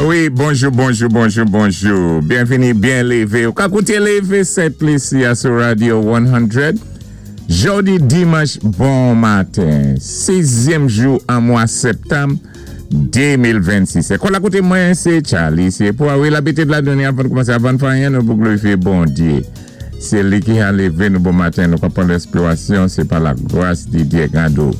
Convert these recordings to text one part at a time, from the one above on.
Wi, bonjou, bonjou, bonjou, bonjou. Byenvini, byen lévé. Ou ka kouté Lévé Sent Lisi a sou Radio 100. Jòdi dimanch bon maten. Sizyèm jou an mwa septanm 2026. É kòl akoté mwen sé Charlie. Sé pou a wi labitid la donnen avan koumansé avan fè anyen nou pou glorifyé Bondyé. Sé li ki ha lévé nou bon maten nou ka pran lespirasyon sé pa la gras di Dyé gado.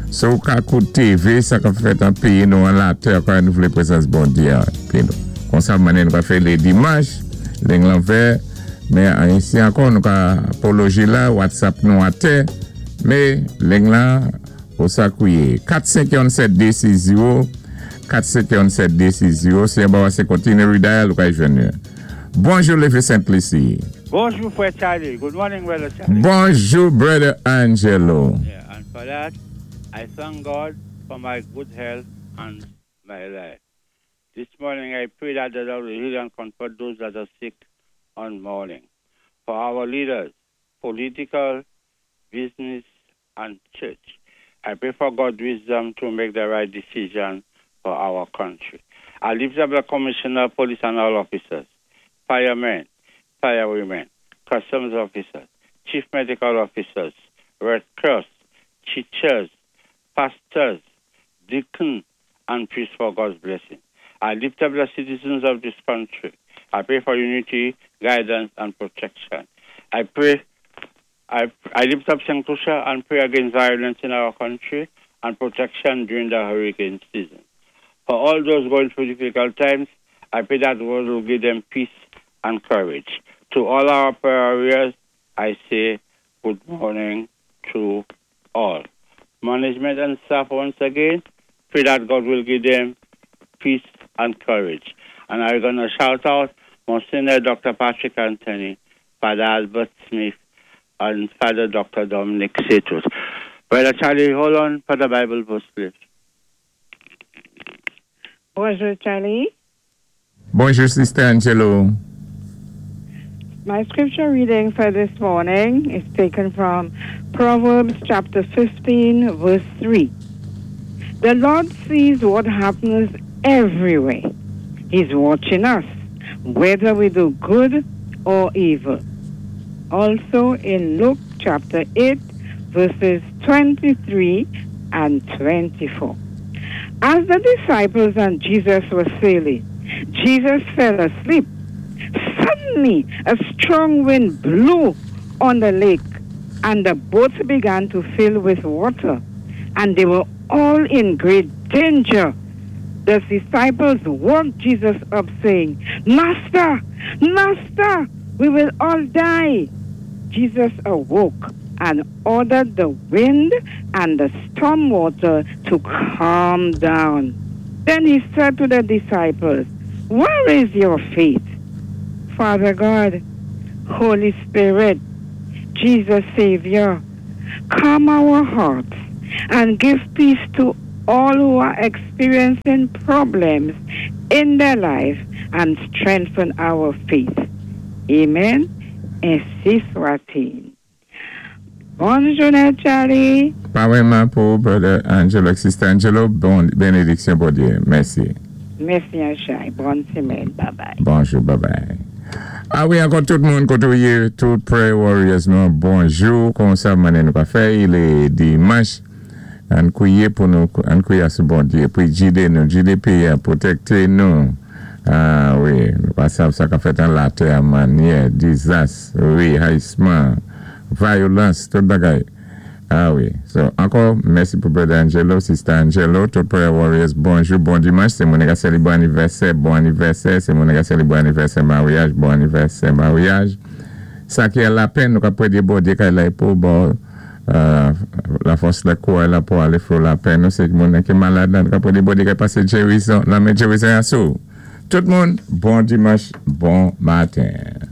So ou ka kouté véyé sa kap fèt an péyi nou an latè kwa nou vlé prezans Bondyé an pi nou. Konsa mannyè nou ka fè lé dimanch ling lan vè men an isi ankò nou ka apoloji la whatsapp nou atè mé ling lan ou sa kouye 4 5 1 7 2 6 0 4 5 1 7 2 6 0 si anba wa sé kontinye redial ou ka jwenn yo. Bonjou Lévé Sent Lisi. Bonjou, Frè Charlie. Good morning, Brother Charlie. Bonjou, Brother Angelo. Yeah, and for that, I thank God for my good health and my life. This morning, I pray that the Lord will heal and comfort those that are sick on morning. For our leaders, political, business, and church, I pray for God's wisdom to make the right decision for our country. I lift up the commissioner, police, and all officers, firemen, firewomen, customs officers, chief medical officers, Red Cross, teachers, pastors, deacons, and priests for God's blessing. I lift up the citizens of this country. I pray for unity, guidance, and protection. I pray, I lift up St. Lucia and pray against violence in our country and protection during the hurricane season. For all those going through difficult times, I pray that God will give them peace and courage. To all our prayer warriors, I say good morning to all. Management and staff, once again, pray that God will give them peace and courage. And I'm going to shout out Monsignor Dr. Patrick Anthony, Father Albert Smith, and Father Dr. Dominic Setos. Brother Charlie, hold on for the Bible verse, please. Bonjou, Charlie. Bonjou, Sister Angelo. My scripture reading for this morning is taken from Proverbs chapter 15, verse 3. The Lord sees what happens everywhere. He's watching us, whether we do good or evil. Also in Luke chapter 8, verses 23 and 24. As the disciples and Jesus were sailing, Jesus fell asleep. Suddenly, a strong wind blew on the lake, and the boat began to fill with water, and they were all in great danger. The disciples woke Jesus up, saying, "Master, Master, we will all die." Jesus awoke and ordered the wind and the storm water to calm down. Then he said to the disciples, "Where is your faith?" Father God, Holy Spirit, Jesus Savior, calm our hearts and give peace to all who are experiencing problems in their life and strengthen our faith. Amen. Ensi swa-t-il. Bòn jounen, Charlie. Parèyman pou Brother Angelo ak Sister Angelo. Bon benediksyon Bondyé. Mèsi. Mèsi Anjay. Bòn sémèn. Bye bye. Bonjou. Bye bye. A wi, ankò tout moun koté ou yé, tout prayer warriors nou, bonjou. Konsa mannyè nou ka fè, i dimanch. Ann kwiyé pou nou, ann kwiyé asou Bondyé pou i jidé nou, jidé péyi a, pwotèkté nou. A wi, nou pa sav sa ka fèt an latè a mannyè, dizas, wi, hayisman, vayolans, tout bagay. A wi. So, ankò, mèsi pou Brother Angelo, Sister Angelo, tout prayer warriors, bonjou, bon dimanch. Sé moun ka sélébwé anivèsè, bon anivèsè. Sé moun ka sélébwé anivèsè maryaj, bon anivèsè maryaj. Sa ki a lapenn, nou ka prédé Bondyé kay la pou bon lafòs la kouray la pou alé fè lapenn nou. Sé moun ki malad la, nou ka prédé Bondyé kay pasé jerizon, lanmen jerizon asou. Tout moun, bon dimanch, bon maten.